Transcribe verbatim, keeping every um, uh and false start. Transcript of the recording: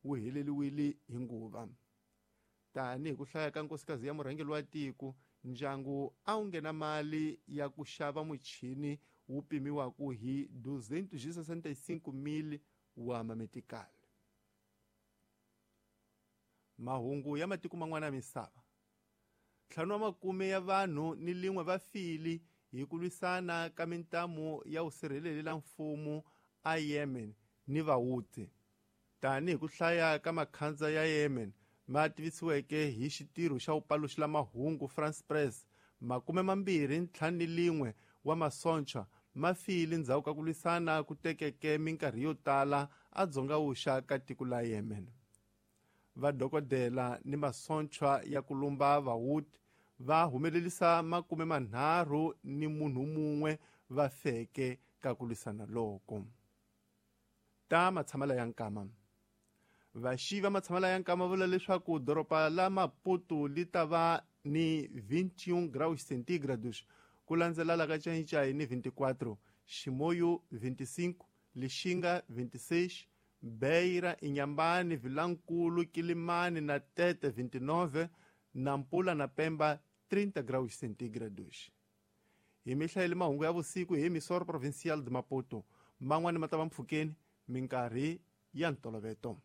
wu heleliwile hi nguva. Tanihi ku hlaya ka nkosikazi ya murhangeri wa tiko, ndyangu a wu nghena mali ya ku xava muchini wu pimiwaka hi duzentos e sessenta e cinco mil wa mametikali. Mahungu ya matiko man'wana ya misava. Ntlhanu wa makume ya vanhu ni lin'we va file hi ku lwisana ka mintamu ya vusirheleri la mfumo a Yemen ni Vahouthi. Tanihi ku hlaya ka makhandza ya Yemen ma tivisiweke hi xitirho xa vupaluxi la mahungu France Press, makume mambirhi ntlhanu ni lin'we wa masocha ma file ndzhaku ka ku lwisana ku tekeke minkarhi yo tala a dzonga-vuxa ka tiko la Yemen. Vadokodela ni masocha ya ku lumba Vahouthi va humelerisa makume manharhu ni munhu mun'we va feke ka ku lwisana loko. Ta matshamela ya nkama. Vaxivi va matshamela ya nkama vula leswaku doroba la Maputo li ta va ni vinte e um graus centígrados ku landzela la ka Xai-Xai ni vinte e quatro, Chimoio vinte e cinco, Lixinga vinte e seis, Beira, Inhambane, Vilankulo, Quilimane na Tete vinte e nove, Nampula na Pemba trinta graus centígrados. Hi mihla mahungu ya vusiku hi Emissora Provincial de Maputo. Man'wana ma ta va mpfhukeni minkarhi ya ntoloveto.